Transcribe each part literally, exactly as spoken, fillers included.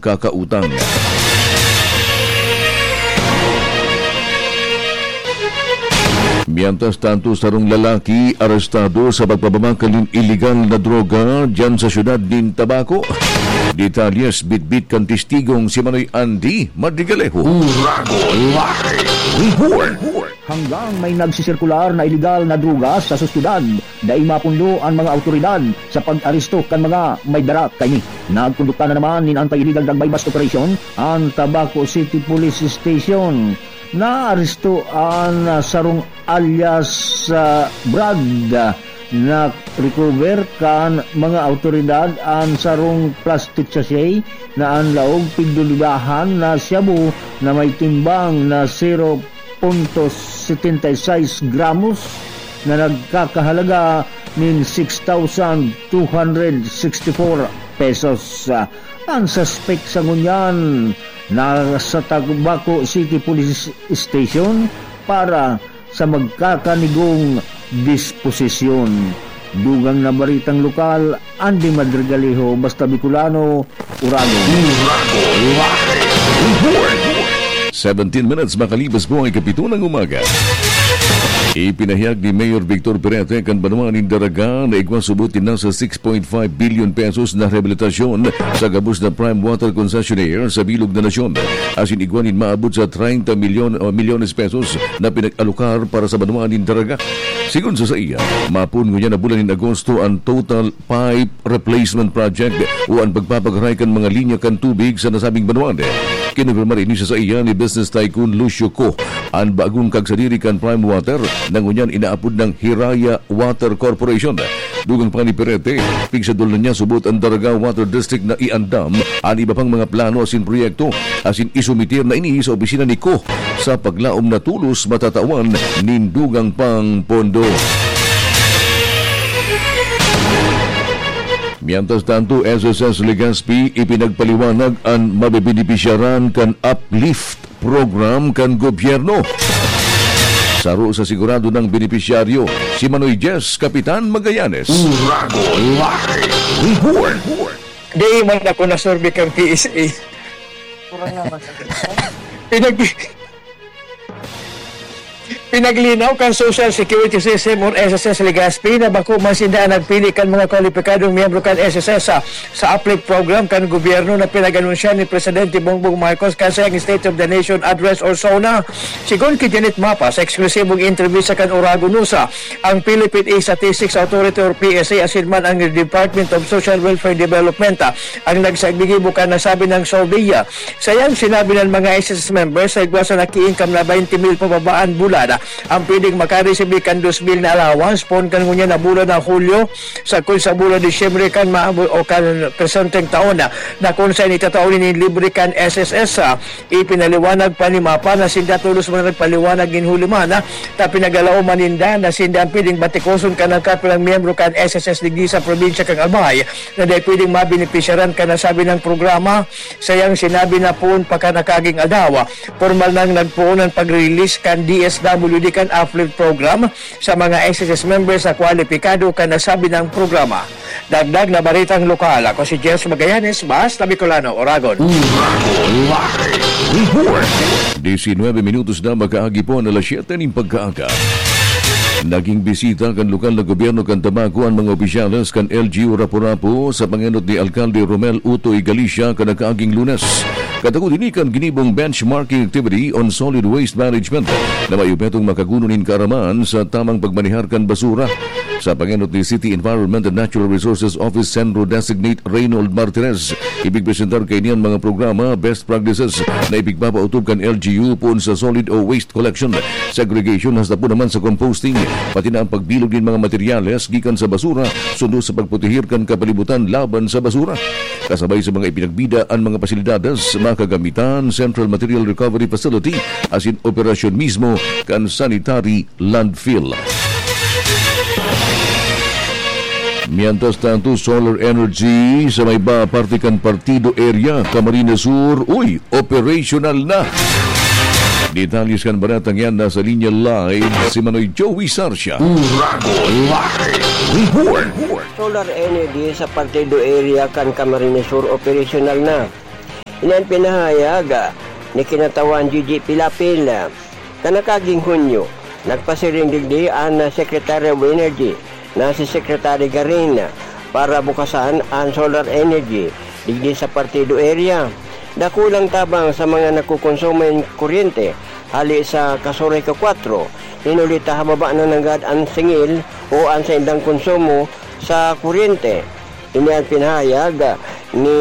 kakautang. Mientras tanto, sarong lalaki arestado sa pagpapabakal nin iligal na droga diyan sa siyudad nin Tabaco. Detalyes, bitbit kan testigong si Manoy Andy Madrigalejo. Uragon Live Report. Hanggang may nagsisirkular na iligal na droga sa sosyedad, dai mapunlo an mga awtoridad sa pag-aresto kan mga may dara kaini. Nagkondukta na naman nin anti-illegal drug buy-bust operation an Tabaco City Police Station. Naaresto an, ah, sarong alias, ah, Brad, ah, na-recover kan mga awtoridad an sarong plastic sachet na an laog pigdududahan na shabu na may timbang na zero punto setenta y seis gramos na nagkakahalaga nin six thousand two hundred sixty-four pesos. An suspek sa ngunyan nasa Tabaco City Police Station para sa magkakanigong disposisyon. Dugang na baritang lokal, Andy Madrigalejo, Basta Bicolano, Uragon. Uragon Live Report. Seventeen minutes makalipas po ay kapito ng umaga. Ipinahayag ni Mayor Victor Perete kan banwa nin Daraga na igwa subot nin nasa six point five billion pesos na rehabilitasyon sa gabos na prime water concessionaire sa bilog na nasyon. Asin igwa nin maabot sa treinta milyon o milyones pesos na pinag-alokar para sa banwa nin Daraga. Sigon sa saiya, mapoon ngunyan na bulan nin Agosto an total pipe replacement project o an pagpapagaray kan mga linya kan tubig sa nasabing banwaan. Kinumpirmar ini sa saiya ni business tycoon Lucio Co, an bagong kagsadiri kan Prime Water na ngunyan inaapod nang Hiraya Water Corporation. Dugang pa ni Perete, pigsadol na niya subot an Daraga Water District na iandam an iba pang mga plano asin proyekto, asin isumitir na ini sa opisina ni Co sa paglaom na tolos matatawan nin dugang pang pondo. Mientras tanto, S S S Legazpi ipinagpaliwanag an mabebenepisyaran kan uplift program kan gobyerno. Saro sa sigurado nang benepisyaryo, si Manoy Jess Kapitan Magallanes. Uragon Live Report. Di man ako nasurvey kan P S A. Pinag-, pinaglinaw kan Social Security System or S S S Legazpi na bako man sinda an nagpili kan mga kwalipikadong miyembro kan S S S sa, sa uplift program kan gobyerno na pinag-anunsyan ni Presidente Bongbong Marcos kan saiyang State of the Nation Address or SONA. Sigon ki Janet Mapa sa eksklusibong entrevista kan Oragon News, ang Philippine Statistics Authority or P S A asin man ang Department of Social Welfare Development ang nagsagibo kan nasabi nang survey. Saiyang sinabi na an mga S S S members sa igwa sa naki-income na twenty mil pababa an bulan, ang pwedeng makaresibi kan dos mil na allowance poon kan ngunyan na bulan na Hulyo, sagkod sa bulan Disyembre kan maabo o kan presenteng taon na, na kun saen itatao nin libre kan S S S. Ipinaliwanag pa ni Mapa na sinda tolos man nagpaliwanag nin huli man, ta pinagalaom man ninda na sinda an pwedeng batikoson kan nagkapirang miyembro kan S S S digdi sa probinsya kan Albay na dai pwedeng mabenepisyaran kan nasabi nang programa. Saiyang sinabi na poon pa kan nakaaging aldaw, pormal nang nagpoon an pag-release kan D S W D kan uplift program sa mga S S S members na kwalipikado kan nasabi nang programa. Dagdag na baritang lokal, ako si Jess Magallanes, Basta Bicolano, Oragon. Uragon Live Report. Diecinueve minutos na makaagi po ang alas siyete nin pagkaaga. Naging bisita kan lokal na gobyerno kan Tabaco an mga opisyales kan L G U Rapu-Rapu sa pangenot ni Alkalde Romel Utoy Galicia kan nakaaging Lunes. Katakod ini kan ginibong benchmarking activity on solid waste management na may obhetong makaguno nin kaaraman sa tamang pagmanehar kan basura. Sa pangenot ni City Environment and Natural Resources Office Centro Designate Reynold Martinez, ipigpresentar kaini an mga programa, best practices na ipigpapaotob kan L G U poon sa solid o waste collection, segregation, hasta po naman sa composting, pati na ang pagbilog nin mga materyales gikan sa basura, sundo sa pagproteher kan kapalibutan laban sa basura. Kasabay sa mga ipinagbida an mga pasilidades, mga kagamitan, Central Material Recovery Facility, asin operasyon mismo kan sanitary landfill. Mientras tanto, solar energy sa may ba parte kan Partido Area, Camarines Sur, uy, operational na. Detalles kan baretang yan nasa linya live si Manoy Joey Sarcia. Uragon Live Report. Solar energy sa Partido Area kan Camarines Sur operational na. Ini an pinahayag ni Kinatawan Gigi Pilapil. Kan nakaaging Hunyo, nagpasiring digdi an Secretary of Energy na si Secretary Garin para bukasan an solar energy digdi sa Partido area. Dakulang tabang sa mga nagkokonsumo nin kuryente hali sa Casureco Cuatro, hinuli ta hababa na nanggad an singil o an saindang konsumo sa kuryente. Ini an pinahayag ni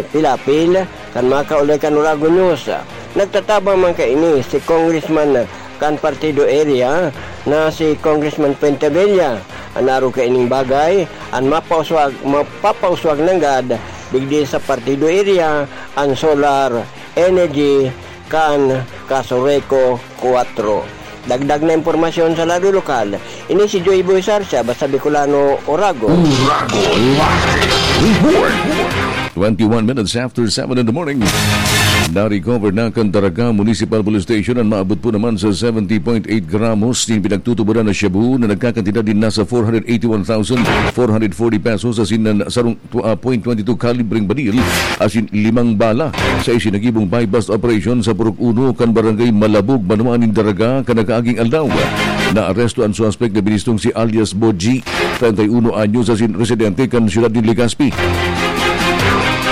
Pilapil kan makaulay kan Oragon News. Nagtatabang man kaini si Congressman kan Partido Area na si Congressman Fuentebella. An arog kaining bagay, an mapauswag, mapapauswag nanggad digdi sa Partido Area an solar energy kan Casureco Cuatro. Dagdag na impormasyon sa lado lokal, ini si Joy Boy Sarsia, basta Bicolano, Oragon. Oragon Live Report. Twenty-one minutes after seven in the morning. Na-recover na kan Daraga Municipal Police Station an maabot po naman sa seventy point eight gramos nin pinagtutuboran na shabu na nagkakantidad nin nasa four hundred eighty-one thousand four hundred forty pesos asin an sarong tw-, ah, point twenty two kalibreng baril asin limang bala sa isinagibong buy-bust operation sa Purok Uno kan Barangay Malabog, banwaan nin Daraga, kan nakaaging aldaw. Naaresto an suspek na binistong si alias Boji, treinta y uno anyos, asin residente kan siyudad nin Legazpi.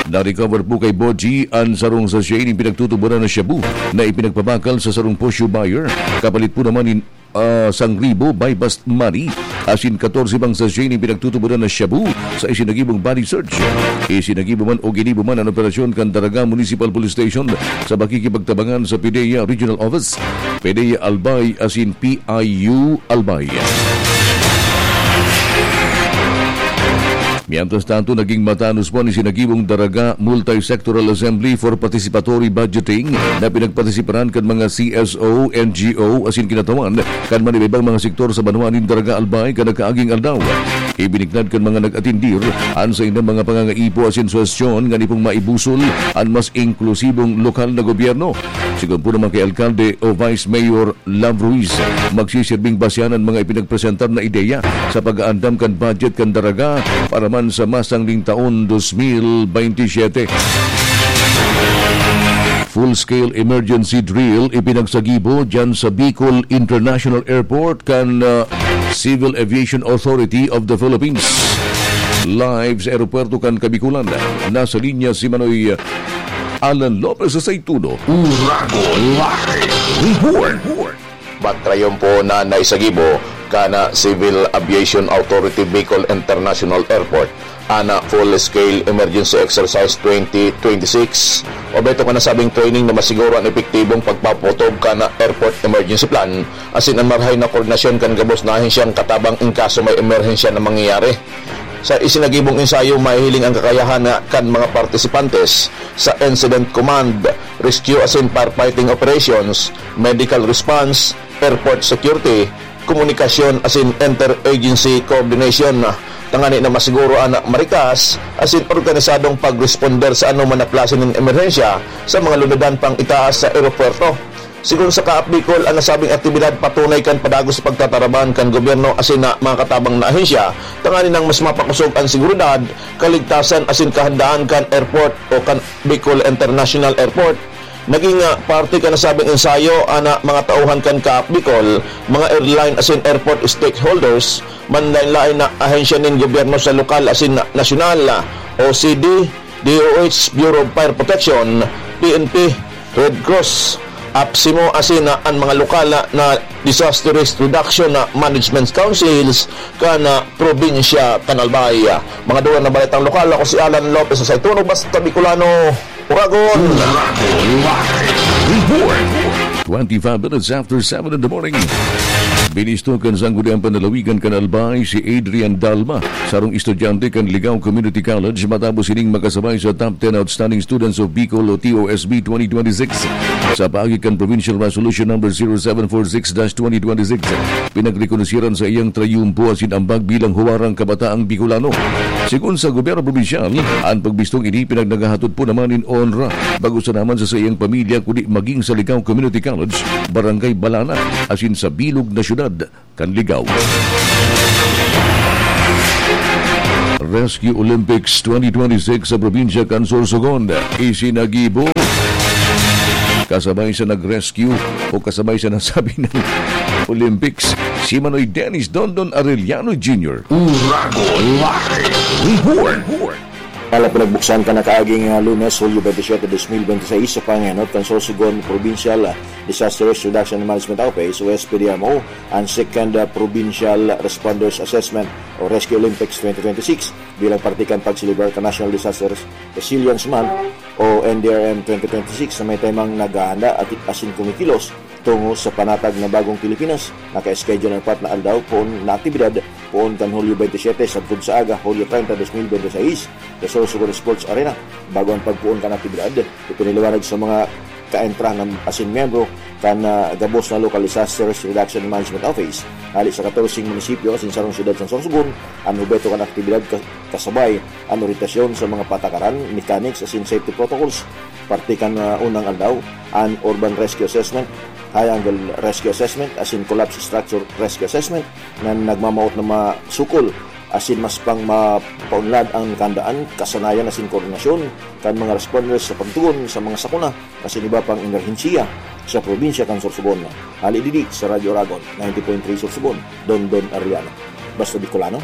Na-recover po kay Boji an sarong sachet nin pinagtutuboran na shabu na ipinagpabakal sa sarong posyo buyer. Kapalit po naman nin ah, sangribo buy-bust money, asin katorse pang sachet nin pinagtutuboran na shabu sa isinagibong body search. Isinagibo man o ginibo man an operasyon kan Daraga Municipal Police Station sa pakikipagtabangan sa PDEA Regional Office, PDEA Albay asin P I U Albay. Mientras tanto, naging matanos po an isinagibong Daraga Multi-Sectoral Assembly for Participatory Budgeting na pinagpartisiparan kan mga C S O, N G O asin kinatawan kan man iba-ibang mga sektor sa banwaan nin Daraga Albay kan nakaaging aldaw. Ibiniknad kan mga nag-atindir an saindang mga pangangaipo asin suhestyon ngani pong maibusol an mas inklusibong lokal na gobyerno. Sigon po naman kay Alkalde o Vice Mayor Love Ruiz, magsisirbing basehan an mga ipinagpresentar na ideya sa pag-aandam kan budget kan Daraga para man sa masangling taon dos mil bente siyete. Full-scale emergency drill ipinagsagibo dyan sa Bicol International Airport kan, ah, Civil Aviation Authority of the Philippines. Live sa aeropuerto kan Kabikulan, nasa linya si Manoy Alan Lopez sa Saituno. Uragon Live Report. Batrayon po na naisagibo kan Civil Aviation Authority Bicol International Airport an Full Scale Emergency Exercise twenty twenty-six. Obheto kan nasabing training na masiguro an epektibong pagpaputob kan Airport Emergency Plan asin an marahay na koordinasyon kan gabos na ahensyang katabang in kaso may emerhensya na mangyayari. Sa isinagibong ensayo, mahihiling ang kakayahan na kan mga partisipantes sa Incident Command, Rescue asin Firefighting Operations, Medical Response, Airport Security, Komunikasyon asin Interagency Coordination, tangani na masiguro an marikas asin organisadong pagresponder sa anoman na klase nin emerhensya sa mga lunadan pang itaas sa eropuwerto. Sigon sa Kaap Bicol, an nasabing aktibidad patunay kan padagos sa pagtataraban kan gobyerno asin na mga katabang na ahensya, tanganing mas mapakosog an seguridad, kaligtasan asin kahandaan kan airport o kan Bicol International Airport. Naging, ah, parte kan nasabing ensayo an, ah, mga tauhan kan Kaap Bicol, mga airline asin airport stakeholders, manlaen-laen na ahensya nin gobyerno sa lokal asin na-, nasyonal, ah, O C D, D O H, Bureau of Fire Protection, P N P, Red Cross, APSEMO asin, ah, an mga lokal na, na Disaster Risk Reduction na Management Councils kan, ah, probinsya kan Albay. Mga dugang na baretang lokal, ako si Alan Lopez sa Saitunog, basta Bicolano, Uragon. Uragon Live Report. Twenty-five minutes after seven in the morning. Binisto kan Sangguniang Panlalawigan kan Albay si Adrian Dalma, sarong estudyante kan Ligao Community College, matapos ining makasabay sa Top ten Outstanding Students of Bicol o T O S B twenty twenty-six. Sa paagi kan Provincial Resolution Number zero seven four six dash twenty twenty-six, pinagrekonoseran sa iyang trayumpo asin ambag bilang huwarang kabataang Bicolano. Sigon sa gobyerno probinsyal, an pagbistong ini pinagnagahatod po naman nin onra, bako sana man sa saiyang pamilya, kundi maging sa Ligao Community College, Barangay Balana, asin sa bilog na syudad kan Ligao. Rescue Olympics twenty twenty-six sa probinsya kan Sorsogon. Isinagibo kasabay sa nag-rescue o kasabay sa nasabi ng Olympics, si Manoy Dennis Dondon Arellano Junior. Uragon Live Report. Ala pinagbuksan kan nakaaging, ah, Lunes, Hulyo twenty-seven, twenty twenty-six, sa pangenot kan Sorsogon Provincial Disaster Risk Reduction and Management Office o S P D R M O, ang Second, ah, Provincial Responders Assessment o Rescue Olympics twenty twenty-six bilang parte kan pagselebrar kan National Disaster Resilience Month o N D R M twenty twenty-six na may temang naghahanda at asin kumikilos tungo sa panatag na bagong Pilipinas. Naka-schedule ang apat na aldaw poon na aktibidad poon kan Hulyo twenty-seven sagkod sa aga, Hulyo treinta, dos mil bente seis, sa Sorsogon Sports Arena. Bago ang pagpoon kan aktibidad, ipinaliwanag sa mga kaentrahan asin miyembro kan, ah, gabos na Local Disaster Risk Reduction Management Office, hali sa katorseng munisipyo asin sarong siyudad sa Sorsogon, an obheto kan aktibidad ka-, kasabay an oryentasyon sa mga patakaran, mechanics asin safety protocols. Parte kan, ah, unang aldaw, an Urban Rescue Assessment, High Angle Rescue Assessment asin Collapse Structure Rescue Assessment na nagmamawot na masukol asin mas pang mapaunlad ang kahandaan, kasanayan asin koordinasyon kan mga responders sa pagtugon sa mga sakuna asin iba pang emerhensiya sa probinsya kan Sorsogon. Hali digdi sa Radyo Uragon, ninety point three Sorsogon, Dondon Arellano. Basta Bicolano,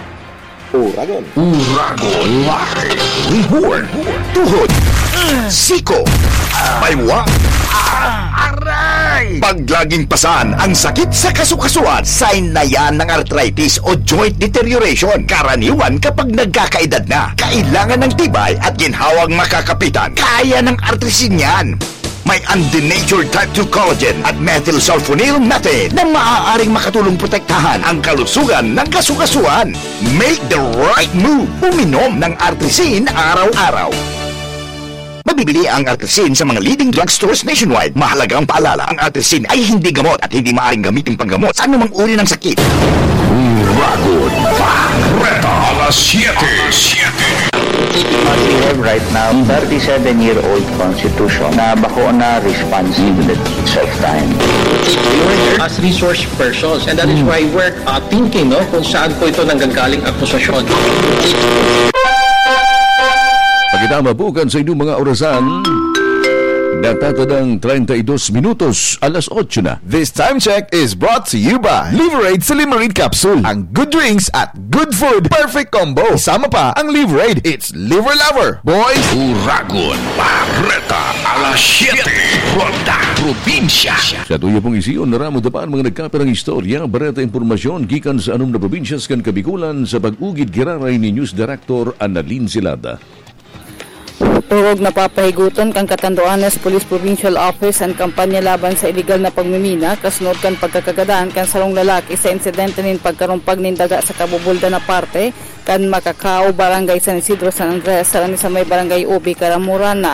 Uragon. Uragon Live Report. Tuhod, siko, baywa, aray! Pag laging pasan ang sakit sa kasukasuan, sign na yan ng arthritis o joint deterioration. Karaniwan kapag nagkakaedad na, kailangan ng tibay at ginhawang makakapitan. Kaya ng Artrisin yan. May undenatured type two collagen at methylsulfonyl methane na maaaring makatulong protektahan ang kalusugan ng kasukasuan. Make the right move. Uminom ng Artrisin araw-araw. Mabibili ang Artrisin sa mga leading drugstores nationwide. Mahalagang paalala, ang Artrisin ay hindi gamot at hindi maaaring gamitin panggamot sa anumang uri ng sakit. Uragon Bareta, alas siyete. What we have right now, thirty-seven-year-old constitution na bako na responsible itself time. As resource persons, and that is why we're, uh, thinking, no, kung saan po ito nanggagaling akusasyon. Pagkitama po kan sa inyong mga orasan, natatadang treinta y dos minutos, alas otso na. This time check is brought to you by Liverade Silimarin Capsule. Ang good drinks at good food, perfect combo. Isama pa ang Liverade. It's Liver Lover, boys. Uragon Bareta, alas siyete, Ronda Probinsya. Sa tuyo pong isiyon, naramo dapan mga nagkapirang istorya, bareta, impormasyon gikan sa anom na probinsyas kan Kabikulan sa pag-ugid giraray ni News Director Annalyn Silada. Turog na papahigoton kan Catanduanes Police Provincial Office an kampanya laban sa iligal na pagmimina, kasunod kan pagkakagadan kan sarong lalaki sa insidente nin pagkarumpag nin daga sa kabubuldan na parte kan Macacao, Barangay San Isidro, San Andres, sarani sa may Barangay Ubi, Caramoran.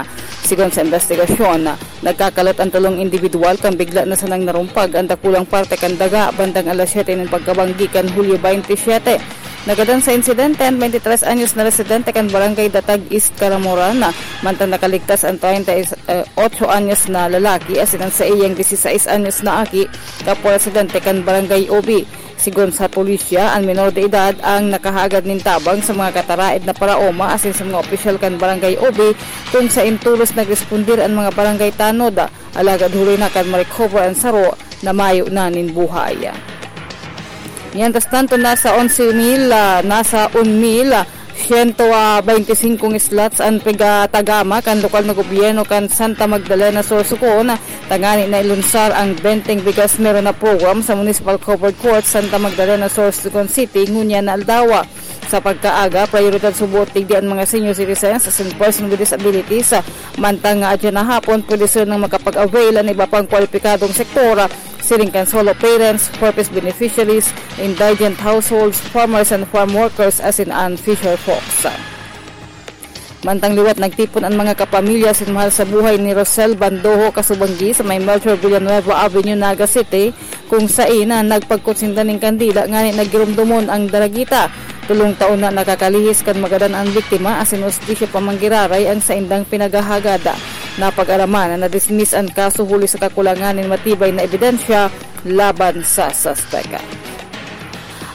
Sigon sa investigasyon, nagkakalot an tolong indibidwal kan bigla na sanang narumpag an dakulang parte kan daga bandang alas siyete nin pagkabanggi kan Hulyo baynte siyete. Nagadan sa insidente an baynte tres anyos na residente kan Barangay Datag East, Caramoran, mantang nakaligtas an treinta y ocho anyos na lalaki asin an saiyang disisais anyos na aki, kapwa residente kan Barangay Ubi. Sigon sa pulisya, an menor de edad ang nakahagad nin tabang sa mga kataraed na paraoma asin sa mga opisyal kan Barangay Ubi, kung sain tolos nagrespondir an mga barangay tanod. Alagad huli na kan ma-recover an saro na mayo na nin buhay. Mientras tanto, nasa onse mil, ah, nasa un mil, ah, siyento, ah, baynte singkong slots an pigatagama kan lokal na gobyerno kan Santa Magdalena Sur, Socon, tangani na ilunsar ang Benteng Bigas Meron Na program sa Municipal Covered Court, Santa Magdalena Sur, Socon City, ngunyan na aldawa. Sa pagkaaga, prayoridad subot digdi an mga senior citizens asin person with disabilities, mantang nga adya na hapon pwede sanang makapag-avail an iba pang kwalipikadong sektor, siring kan solo parents, four Ps beneficiaries, indigent households, farmers and farm workers, asin an fisher folks. Mantang liwat nagtipon an mga kapamilya asin mahal sa buhay ni Rosel Bandojo Kasubanggi sa may Melchor Villanueva Avenue, Naga City, kung sain na nagpagkutsinda nin kandila ngani naggiromdomon ang daragita. Tolong taon na nakakalihis kan magadan an biktima asin hustisya pa man giraray ang saindang pinaghahagad. Napag-araman na na-dismiss an kaso huli sa kakulangan nin matibay na ebidensya laban sa suspek.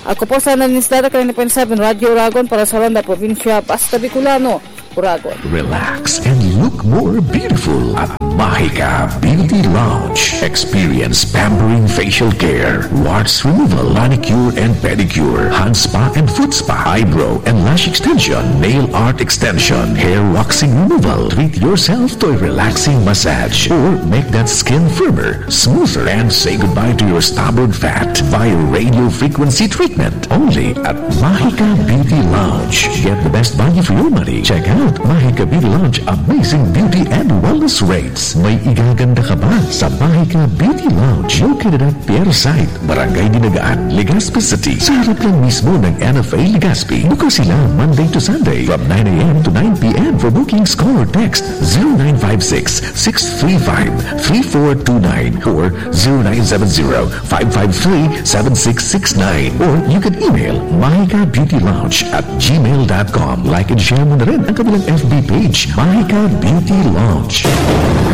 Ako po sana ni Stada Kalina Point seven Radyo Uragon para sa Ronda Probinsya, Basta Bicolano, Uragon. Relax and look more beautiful at Mahika Beauty Lounge. Experience pampering facial care, warts removal, manicure and pedicure, hand spa and foot spa, eyebrow and lash extension, nail art extension, hair waxing removal. Treat yourself to a relaxing massage or make that skin firmer, smoother, and say goodbye to your stubborn fat via radio frequency treatment. Only at Mahika Beauty Lounge. Get the best value for your money. Check out Mahika Beauty Lounge amazing beauty and wellness rates. May igaganda ka ba sa Mahika Beauty Lounge? Located at Pier Site, Barangay Dinagaan, Legazpi City. Sa harap lang mismo ng N F A Legazpi. Bukas sila Monday to Sunday from nine a.m. to nine p.m. For bookings, call or text zero nine five six, six three five, three four two nine or zero nine seven zero, five five three, seven six six nine. Or you can email mahika beauty lounge at gmail dot com. Like and share mo na rin ang kanilang F B page, Mahika Beauty Lounge.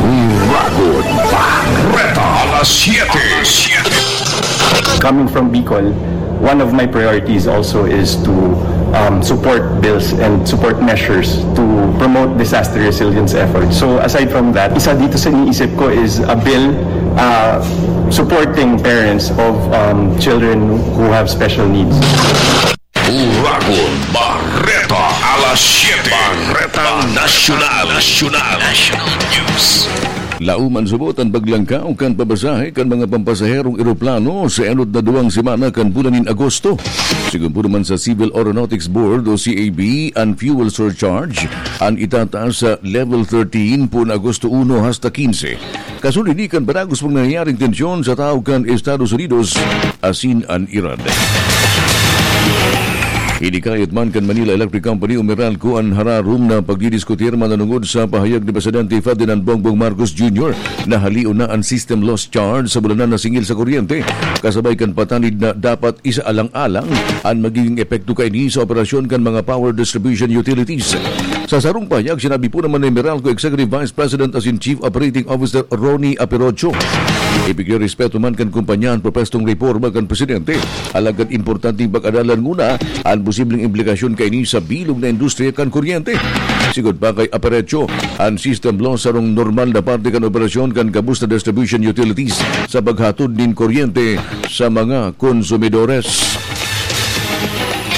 Uragon, Bareta, alas siete. Coming from Bicol, one of my priorities also is to um, support bills and support measures to promote disaster resilience efforts. So aside from that, isa dito sa iniisip ko is a bill uh, supporting parents of um, children who have special needs. Uragon, Bareta, alas siete. Bareta Nasyonal. Nasyonal. National News. Laom an subot an paglangkaw kan pabasahe kan mga pampasaherong eroplano sa enot na duwang semana kan bulan nin Agosto. Sigon po naman sa Civil Aeronautics Board o C A B, an fuel surcharge an itataas sa level thirteen po na Agosto uno hasta quince. Kasunod ini kan padagos pang nangyayaring tensyon sa tahaw kan Estados Unidos asin an Iran. Hinikayat man kan Manila Electric Company o Meralco an hararom na pagdidiskutir mananungod sa pahayag ni Presidente Ferdinand Bongbong Marcos Junior na halion na an system loss charge sa bulanan na singil sa kuryente, kasabay kan patanid na dapat isaalang-alang an magiging epekto kaini sa operasyon kan mga power distribution utilities. Sa sarong pahayag, sinabi po naman ni Meralco Executive Vice President asin Chief Operating Officer Ronnie Aperocho, ipigrerespeto man kan kumpanya an propwestong reforma kan presidente, alagad importanteng pag-aralan nguna an posibleng implikasyon kaini sa bilog na industriya kan kuryente. Sigon pa kay Aperocho, an system loss sarong normal na parte kan operasyon kan gabos na distribution utilities sa paghatod nin kuryente sa mga konsumidores.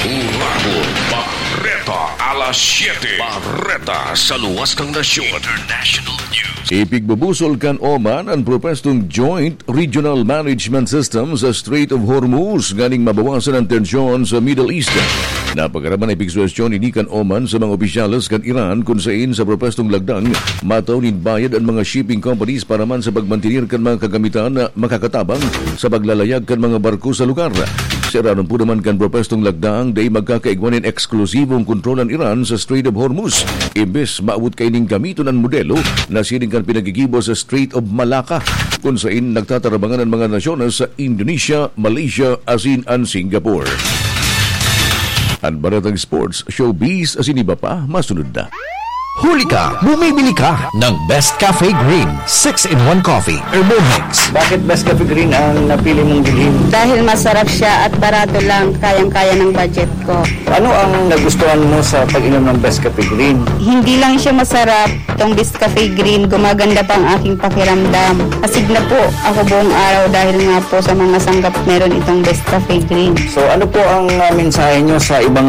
Uragon, Bareta, alas siete. Bareta sa luwas kan nasyon. International News. Ipigbubusol kan Oman an propwestong Joint Regional Management System sa Strait of Hormuz nganing mabawasan an tensyon sa Middle East. Napagaraman na ipigsuwestyon ini kan Oman sa mga opisyales kan Iran, kun sain sa propwestong lagdang, matao nin bayad an mga shipping companies para man sa pagmantener kan mga kagamitan na makakatabang sa paglalayag kan mga barko sa lugar. Sa irarom po naman kan propwestong lagdang, dai magkakaigwa nin eksklusibong kontrol an Iran sa Strait of Hormuz. Imbes maabot kaining gamiton an modelo na siring kan pinagigibo sa Strait of Malacca, kun sain nagtatarabangan an mga nasyones sa Indonesia, Malaysia, asin an Singapore. An baretang sports, showbiz, asin iba pa, masunod na. Huli ka, bumibili ka ng Best Cafe Green six-in-one Coffee, Herbal Mix. Bakit Best Cafe Green ang napili mong bilhin? Dahil masarap siya at barato lang, kayang-kaya ng budget ko. Ano ang nagustuhan mo sa pag-inom ng Best Cafe Green? Hindi lang siya masarap, itong Best Cafe Green, gumaganda pa ang aking pakiramdam. Astig na po ako buong araw dahil nga po sa mga sanggap meron itong Best Cafe Green. So ano po ang ah, mensahe nyo sa ibang